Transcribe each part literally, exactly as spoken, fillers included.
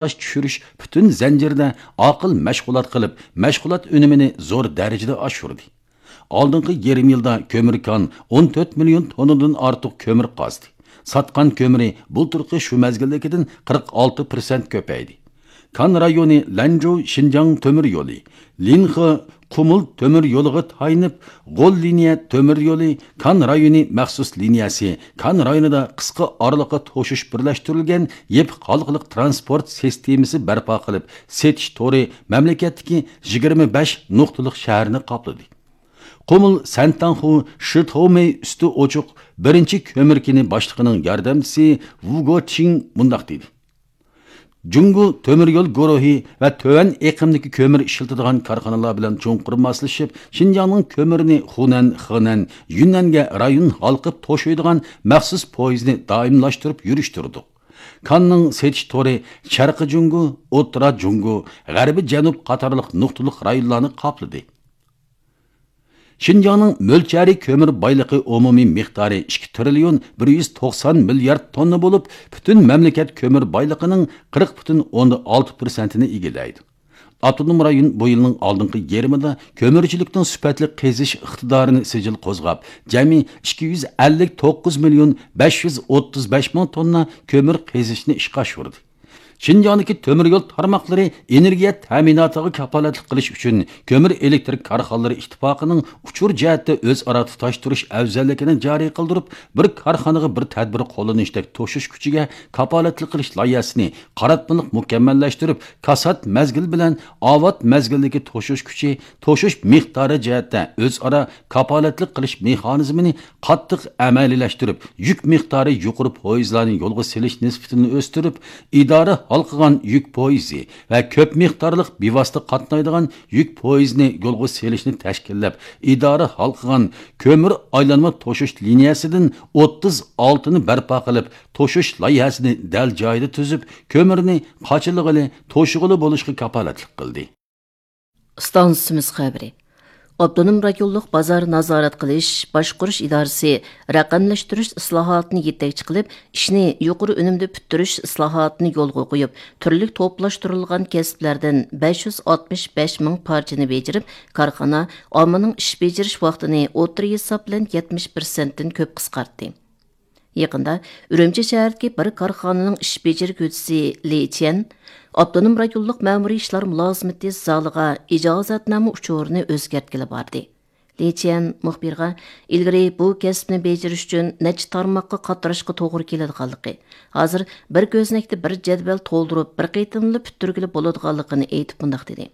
ئاش چۈشۈرۈش پۈتۈن زەنجىرىدە ئاقىل مەشغۇلات قىلىپ، مەشغۇلات ئۈنۈمىنى زور دەرىجىدە ئاشۇردى. ئالدىنقى يېرىم يىلدا كۆمۈر كان ئون تۆت مىليون توننىدىن ئارتۇق كۆمۈر قازدى. ساتقان كۆمۈرى بۇلتۇرقى شۇ مەزگىلدىكىدىن قىرىق ئالتە پىرسەنت كۆپەيدى. كان رايونى لەنجۇ شىنجاڭ تۆمۈر يولى، لىنخې قۇمۇل تۆمۈر يولىغا تايىنىپ، غول لىنىيە تۆمۈر يولى، كان رايونى مەخسۇس لىنىيەسى، كان رايونىدا قىسقا ئارىلىققا توشۇش بىرلەشتۈرۈلگەن يېپىق ھالقىلىق تىرانسپورت سىستېمىسى بەرپا قىلىپ، سېتىش تورى مەملىكەتتىكى يىگىرمە بەش نۇقتىلىق شەھەرنى قاپلىدى. قۇمۇل سەنتاڭخۇ شىتومېي ئۈستى ئوچۇق بىرىنچى كۆمۈر كېنى باشلىقىنىڭ ياردەمچىسى ۋۇ گوچىڭ مۇنداق دېدى: جۇڭگو تۆمۈر يول گۇرۇھى ۋە تۆۋەن ئېقىمدىكى كۆمۈر ئىشلىتىدىغان كارخانىلار بىلەن چوڭقۇر ماسلىشىپ، شىنجاڭنىڭ كۆمۈرىنى خۇنەن، خېنەن، يۈننەنگە رايون ھالقىپ توشۇيدىغان مەخسۇس پويىزنى دائىملاشتۇرۇپ يۈرۈشتۈردۇق. كاننىڭ سېتىش تورى شەرقىي جۇڭگو، ئوتتۇرا جۇڭگو، غەربىي جەنۇب قاتارلىق نۇقتىلىق رايونلارنى قاپلىدى. شىنجاڭنىڭ مۆلچەرى كۆمۈر بايلىقى ئومۇمىي مىقدارى ئىككى تىرىليون بىر يۈز توقسان مىليارد توننا بولۇپ، پۈتۈن مەملىكەت كۆمۈر بايلىقىنىڭ قىرىق پۈتۈن ئوندىن ئالتە پىرسەنتىنى ئىگىلەيدۇ. ئاپتونوم رايون بۇ يىلنىڭ ئالدىنقى يېرىمىدا كۆمۈرچىلىكنىڭ سۈپەتلىك قېزىش ئىقتىدارىنى سىجىل قوزغاپ، جەمئىي ئىككى يۈز ئەللىك توققۇز مىليون بەش يۈز ئوتتۇز بەش مىڭ توننا كۆمۈر قېزىشنى ئىشقا ئاشۇردى. شىنجاڭدىكى تۆمۈر يول تارماقلىرى ئېنېرگىيە تەمىناتىغا كاپالەتلىك قىلىش ئۈچۈن، كۆمۈر ئېلېكتىر كارخانىلىرى ئىتتىپاقىنىڭ ئۇچۇر جەھەتتە ئۆزئارا تۇتاشتۇرۇش ئەۋزەللىكىنى جارى قىلدۇرۇپ، بىر كارخانىغا بىر تەدبىر قوللىنىشتەك توشۇش كۈچىگە كاپالەتلىك قىلىش لايىھەسىنى قاراتمىلىق مۇكەممەللەشتۈرۈپ، كاسات مەزگىل بىلەن ئاۋات مەزگىلدىكى توشۇش كۈچى، توشۇش مىقدارى جەھەتتە ئۆزئارا كاپالەتلىك قىلىش مېخانىزمىنى قاتتىق ئەمەلىيلەشتۈرۈپ، يۈك مىقدارى يۇقىرى پويىزلارنى يولغا سېلىش نىسبىتىنى ئۆستۈرۈپ، ئىدارە ھالقىغان يۈك پويىزى ۋە كۆپ مىقدارلىق بىۋاسىتە قاتنايدىغان يۈك پويىزىنى يولغا سېلىشنى تەشكىللەپ، ئىدارە ھالقىغان كۆمۈر ئايلانما توشۇش لىنىيەسىدىن ئوتتۇز ئالتىنى بەرپا قىلىپ، توشۇش لايىھەسىنى دەل جايىدا تۈزۈپ، كۆمۈرنى قاچىلىغىلى، توشۇغىلى بولۇشقا كاپالەتلىك قىلدى. ئىستانسىمىز خەۋىرى. ئاپتونوم رايونلۇق بازار نازارەت قىلىش، باشقۇرۇش ئىدارىسى رەقەملەشتۈرۈش ئىسلاھاتىنى يېتەكچى قىلىپ، ئىشنى يۇقىرى ئۈنۈمدە پۈتتۈرۈش ئىسلاھاتىنى يولغا قويۇپ، تۈرلۈك توپلاشتۇرۇلغان كەسىپلەردىن بەش يۈز ئاتمىش بەش مىڭ پارچىنى بېجىرىپ، كارخانا ئاممىنىڭ ئىش بېجىرىش ۋاقتىنى ئوتتۇرا ھېساب بىلەن يەتمىش پىرسەنتتىن كۆپ قىسقارتتى. يېقىندا ئۈرۈمچى شەھىرىدىكى بىر كارخانىنىڭ ئىش بېجىرگۈچىسى لى چيەن ئاپتونوم رايونلۇق مەمۇرىي ئىشلار مۇلازىمىتى زالىغا ئىجازەتنامە ئۇچۇرىنى ئۆزگەرتكىلى باردى. لى چيەن مۇخبىرغا ئىلگىرى بۇ كەسىپنى بېجىرىش ئۈچۈن نەچچە تارماققا قاتراشقا توغرا كېلىدىغانلىقى، ھازىر بىر كۆزنەكتە بىر جەدۋەل تولدۇرۇپ، بىر قېتىملا پۈتتۈرگىلى بولىدىغانلىقىنى ئېيتىپ مۇنداق دېدى: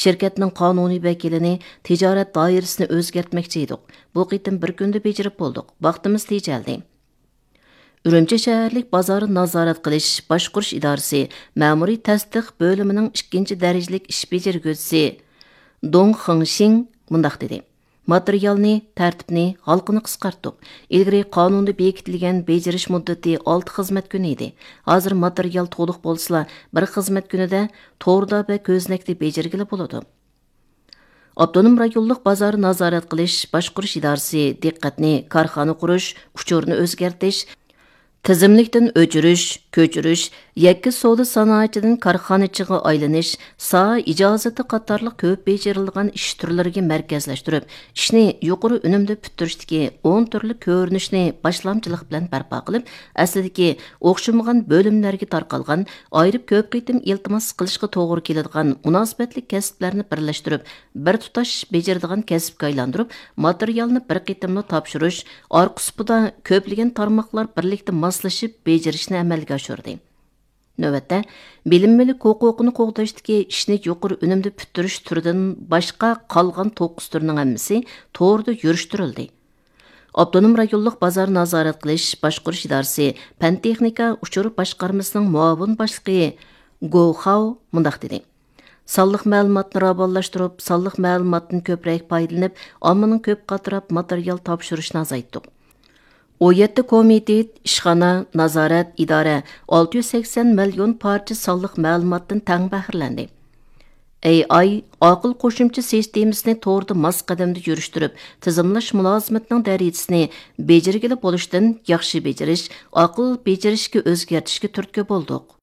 شىركەتنىڭ قانۇنىي ۋەكىلىنى تىجارەت دائىرىسىنى ئۆزگەرتمەكچى ئىدۇق. بۇ قېتىم بىر كۈندە بېجىرىپ بولدۇق. ۋاقتىمىز تېجەلدى. ئۈرۈمچى شەھەرلىك بازار نازارەت قىلىش باشقۇرۇش ئىدارىسى مەمۇرىي تەستىق بۆلۈمىنىڭ ئىككىنچى دەرىجىلىك ئىش بېجىرگۈچىسى دۇڭ خېڭشىڭ مۇنداق دېدى: ماتېرىيالنى، تەرتىپنى، ھالقىنى قىسقارتتۇق. ئىلگىرى قانۇندا بېكىتىلگەن بېجىرىش مۇددىتى ئالتە خىزمەت كۈنى ئىدى. ھازىر ماتېرىيال تولۇق بولسىلا، بىر خىزمەت كۈنىدە توردا ۋە كۆزنەكتە بېجىرگىلى بولىدۇ. ئاپتونوم رايونلۇق بازار نازارەت قىلىش باشقۇرۇش ئىدارىسى دىققەتنى كارخانا قۇرۇش، ئۇچۇرنى ئۆزگەرتىش، تىزىملىكتىن ئۆچۈرۈش، كۆچۈرۈش، يەككە سودا سانائىتىدىن كارخانىچىغا ئايلىنىش، ساھە ئىجازىتى قاتارلىق كۆپ بېجىرىلىدىغان ئىش تۈرلىرىگە مەركەزلەشتۈرۈپ، ئىشنى يۇقىرى ئۈنۈمدە پۈتتۈرۈشتىكى ئون تۈرلۈك كۆرۈنۈشنى باشلامچىلىق بىلەن بەرپا قىلىپ، ئەسلىدىكى ئوخشىمىغان بۆلۈملەرگە تارقالغان، ئايرىپ كۆپ قېتىم ئىلتىماس قىلىشقا توغرا كېلىدىغان مۇناسىۋەتلىك كەسىپلەرنى بىرلەشتۈرۈپ، بىر تۇتاش بېجىرىدىغان كەسىپكە ئايلاندۇرۇپ، ماتېرىيالنى بىر قېتىملا تاپشۇرۇش، ئارقا سۇپىدا كۆپلىگەن تارماقلار بىرلىكتە ماسلىشىپ بېجىرىشنى ئەمەلگە ئاشۇردى. نۆۋەتتە، بىلىم مۈلۈك ھوقۇقىنى قوغداشتىكى ئىشنى يۇقىرى ئۈنۈمدە پۈتتۈرۈش تۈرىدىن باشقا قالغان توققۇز تۈرنىڭ ھەممىسى توردا يۈرۈشتۈرۈلدى. ئاپتونوم رايونلۇق بازار نازارەت قىلىش باشقۇرۇش ئىدارىسى پەن تېخنىكا ئۇچۇر باشقارمىسىنىڭ مۇئاۋىن باشلىقى گو خاۋ مۇنداق دېدى: سانلىق مەلۇماتنى راۋانلاشتۇرۇپ، سانلىق مەلۇماتتىن كۆپرەك پايدىلىنىپ، ئاممىنىڭ كۆپ قاتراپ ماتېرىيال تاپشۇرۇشىنى ئازايتتۇق. ئون يەتتە كومىتېت، ئىشخانا، نازارەت، ئىدارە ئالتە يۈز سەكسەن مىليون پارچە سانلىق مەلۇماتتىن تەڭ بەھرىلەندى. ئەي ئاي ئاقىل قوشۇمچە سىستېمىسىنى توردا ماس قەدەمدە يۈرۈشتۈرۈپ، تىزىملاش مۇلازىمىتىنىڭ دەرىجىسىنى بېجىرگىلى بولۇشتىن ياخشى بېجىرىش، ئاقىل بېجىرىشكە ئۆزگەرتىشكە تۈرتكە بولدۇق.